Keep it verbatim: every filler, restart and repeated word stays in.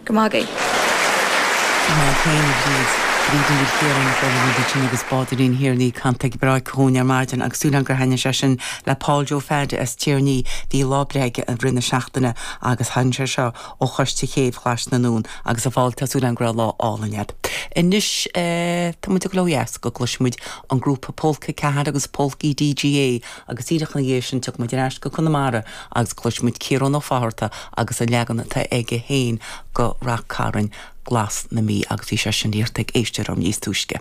Go maith. Sin agus Báirín Thiarnaí canta breá chugainn ar maidin agus súil gur thaitin sé sin le Paul Joe Fad as Tiarnaí bhí lá breithe i rith na seachtaine agus tháinig sé seo ó choiste chéibh Ghlais na nDún agus a fáil tású an gra lá álainn. Anois tá muid ag dul go gcloisfimid an grúpa Polca Ceathair agus Polcaí DGA agus díreach ina dhiaidh sin tiocfaimid ar ais go Conamara agus cloisfimid Ciarán Ó Fátharta agus a leagan atá aige féin go Rath Cairn Glas na Mí agus bhí sé sin iarrta ag éisteoir níos túisce.